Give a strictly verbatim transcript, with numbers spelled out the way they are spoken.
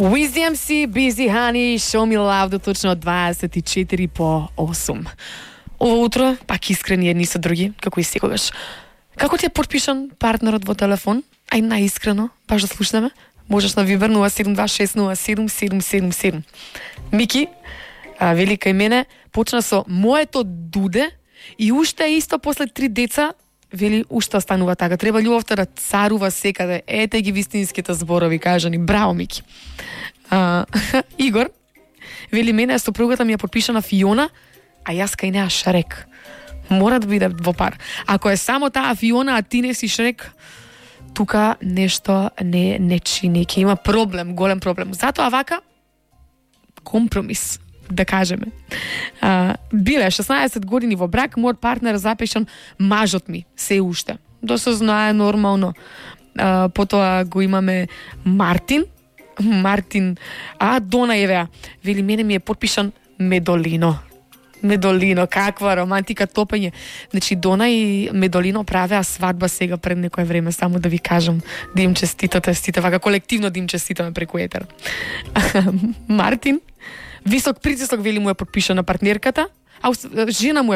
Wiz ди ем си, Busy Honey, Show Me Love до точно дваесет и четири по осум. Ово утро, пак искрени едни со други, како и секогаш. Како ти е подпишан партнерот во телефон? Ај наискрено, баш да слушнеме. Можеш на Viber нула седум два шест нула седум седум седум седум. Мики, а, вели кај мене, почна со моето дуде и уште исто после три деца, вели уште останува така. Треба љубовта да царува секаде. Ете ги вистинските зборови, кажани. Браво, Мики. А, Игор, вели мене сопругата ми е подпишана Фиона, а јас кај неа Шрек. Мора да биде во пар. Ако е само таа Фиона, а ти не си Шрек, тука нешто не не чини, ќе има проблем, голем проблем. Затоа вака компромис, да кажеме. А, биле шеснаесет години во брак, мојот партнер запишан мажот ми, се уште. Да се знае нормално. А, потоа го имаме Мартин, Мартин, а Дона Евеа, вели мене ми е подпишан Медолино. Медолино, каква романтика, топење. Значи, Дона и Медолино правеа свадба сега пред некое време, само да ви кажам, да им честитате, стите, вака колективно да им честитаме преку етер. Мартин, висок притисок, вели му е подпишана партнерката, а жена му е